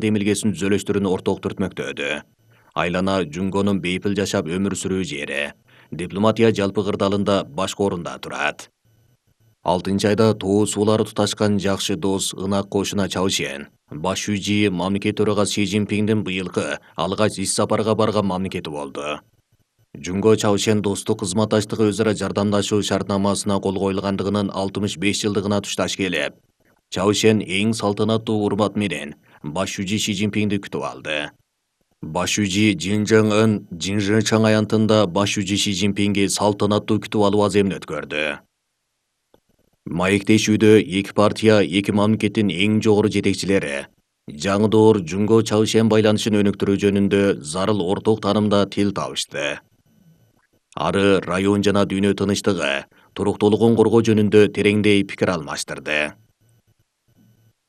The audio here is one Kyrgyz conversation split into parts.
демилгесин түзөлөштөрүн орток түртмөктөдү. Айлана Жунгонун бейпил жашап өмүр сүрүү жери. Дипломатия жалпы кырдаалында башкы орунда турат. 6-айда тоо суулары туташкан жакшы дос ынак кошуна Чаушен. Баш шүүжи мамлекет төрагасы Си Цзиньпиндин быйылкы алгач иш сапарга барган мамлекети болду. Жунго Чаушен достук кызматташтыгы өзара жардамдашуу шартнамасына кол коюлгандыгынын 65 жылдыгына тушташ келип, Чаушен эң салтанаттуу урмат менен баш шүүжи Си Цзиньпинди күтүп алды. Баш шүүжи Жин Чжэн Ын Жинжичang аянтында баш шүүжи Си Цзиньпинги салтанаттуу күтүп алуу аземин өткөрдү. Маектешүүдө эки партия, эки мамлекеттин эң жогору жетекчилери жаңы доор Жунго Чаушен байланышын өнүктүрүү жөнүндө зарыл орток таанымда тил табышты. Ары район жана дүйнө тынычтыгы, туруктуулугун коргоо жөнүндө тереңдей пикир алмаштырды.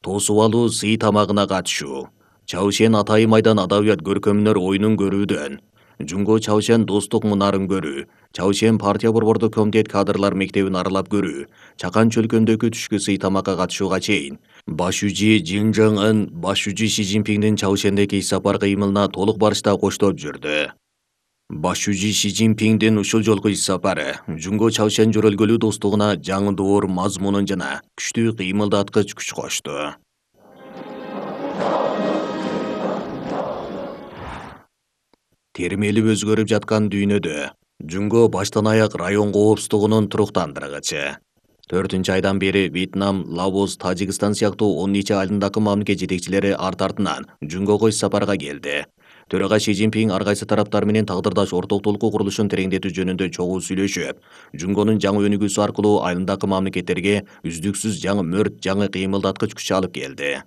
Тосуп алуу сый тамагына катышуу. Чаушен Атайын майдан адабият көркөмдөр оюнун көрүүдөн, Жунго Чаушен достук мунарын көрүү, Чаушен партия борбордук комитет кадрлар мектебин аралап көрүү, Чакан чөлкөмдөгү түшкү сый тамакка катышууга чейин баш шүүжи Жин Чжэн Ын баш шүүжи Си Цзиньпиндин Чаушендеги иш сапар кыймылына толук барышта коштоп жүрдү. Баш шүүжи Си Цзиньпиндин ушул жолку иш сапары Жунго Чаушен жөрөлгөлүү достугуна жаңы доор мазмунун жана күчтүү кыймылдаткыч күч кошту. Термелип өзгөрүп жаткан дүйнөдө Жунго баштан аяк район коопсуздугунун туруктандыргычы. 4-айдан бери Вьетнам, Лаос, Тажикстан сыяктуу 10 нече айылдагы мамлекет жетекчилери арт-артынан Жунгого иш сапарга келди. Төрага Си Цзиньпин ар кайсы тараптар менен тагдырдаш ортоктулук курулушун тереңдетүү жөнүндө чогуу сүйлөшүп, Жунгонун жаңы өнүгүүсү аркылуу айылдагы мамлекеттерге үздүксүз жаңы мөрт, жаңы кыймылдаткыч күч алып келди.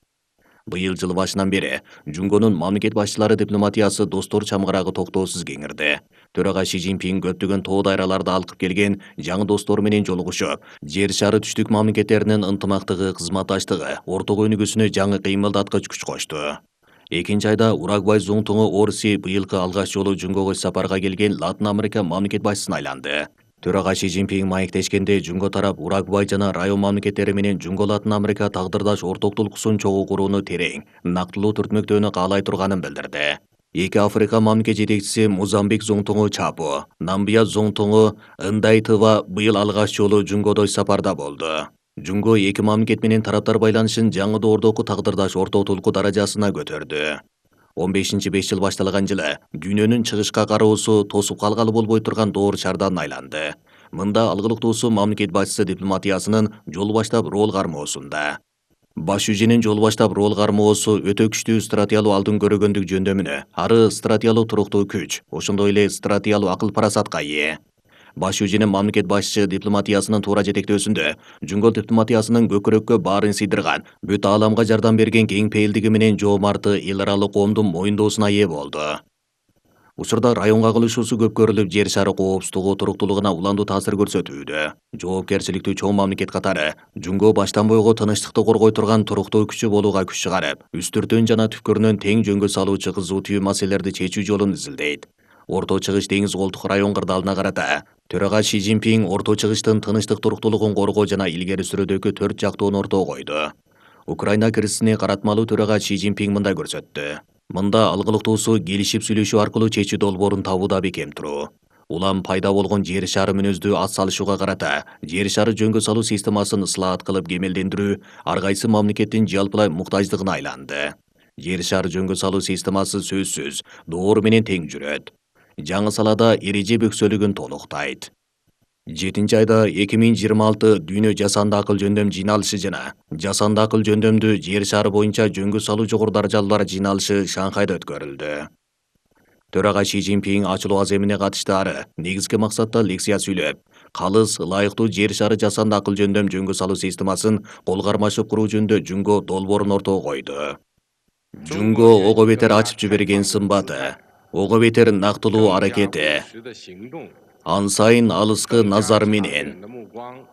Быйыл жыл башынан бери Жунгонун мамлекет башчылары дипломатиясы достор чамгарагы токтоосуз кеңирди. Төрага Си Цзиньпин көптөгөн тоо дайраларда алкып келген жаңы достор менен жолугушуп, жер шары түштүк мамлекеттеринин ынтымактыгы, кызматташтыгы, орток өнүгүүсүнө жаңы кыймылдаткыч күч кошту. 2-айда Уругвай зуңтуңу Орси быйылкы алгач жолу Жунгого иш сапарга келген Латын Америка мамлекет башчысына айланды. Төрага Си Цзиньпин маектешкенде Жунго тарап Уругвай жана район мамлекеттери менен Жунго Латын Америка тагдырдаш ортоктулуксун чогуу курууну терең, нактылуу түртмөктөөнү каалай турганын билдирди. Эки Африка мамлекет жетекчиси Мозамбик зуңтуңу Чапо, Намбия зуңтуңу Ындайтыва быйыл алгач жолу Жунгодо иш сапарда болду. Жунго эки мамлекет менен тараптар байланышын жаңы доордогу тагдырдаш ортоктулуку даражасына көтөрдү. 15-5 жыл башталган жылы дүйнөнүн чыгышка кароосу тосуп калгалы болбой турган доор шардан айланды. Мында алгылыктуусу мамлекет башчысы дипломатиясынын жол баштап рол кармоосунда. Баш шүүжинин жол баштап рол кармоосу өтө күчтүү стратегиялуу алдын көрөгөндүк жөндөмүнө, ары стратегиялуу туруктуу күч, ошондой эле стратегиялуу акыл парасатка ээ. Баш шүүжинин мамлекет башчы дипломатиясынын туура жетектөөсүндө Жунго дипломатиясынын көкүрөккө баарын сыйдырган, бүт ааламга жардам берген кең пейилдиги менен жоомарты эл аралык коомдун моюндоосуна ээ болду. Учурда районго кылышуусу көп көрүлүп, жер шары коопсуздугу, туруктуулугуна уландуу таасир көрсөтүүдө. Жоопкерчиликтүү чоң мамлекет катары Жунго баштан бойго тынычтыкты коргой турган туруктуу күчү болууга күч чыгарып, үстүртөн жана түпкүрүнөн тең жөнгө салуучу кызуу түйүн маселелерди чечүү жолун изилдейт. Орто Чыгыш деңиз колтук район кырдаалына карата төрага Си Цзиньпин Орто Чыгыштын тынычтык туруктуулугун коргоо жана илгери сүрүүдөгү 4 жактоону ортого койду. Украина кризисине каратмалуу төрага Си Цзиньпин мындай көрсөттү. Мында алгылыктуусу келишип сүйлөшүү аркылуу чечүү долбоорун табууда бекем туруу. Улам пайда болгон жер шары мүнөздүү ат салышууга карата жер шары жөнгө салуу системасын ыслаат кылып кемелдендирүү ар кайсы мамлекеттин жалпылай муктаждыгына айланды. Жер шары жөнгө салуу системасы сөзсүз доор менен тең жүрөт. Жаңы салада эреже бөксөлүгүн толуктайт. 7-айда 2026 дүйнө жасанды акыл жөндөм жыйналышы жана жасанды акыл жөндөмдү жер шары боюнча жөнгө салуу жогору даражалуулар жыйналышы Шанхайда өткөрүлдү. Төрага Си Цзиньпин ачылуу аземине катыштары негизги максатта лекция сүйлөп, калыс, ылайыктуу жер шары жасанды акыл жөндөм жөнгө салуу системасын кол кармашып куруу жөнүндө Жунго долбоорун ортого койду. Жунго ого бетер ачып жиберген сымбаты, ого бетер нактылуу аракети, ан сайын алыскы назар менен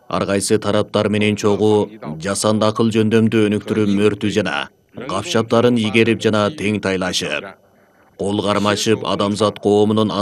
ар кайсы тараптар менен чогуу жасанды акыл жөндөмдү өнүктүрүү мөртү жана капчаптарын игерип жана тең тайлашып, кол кармашып адамзат коомунун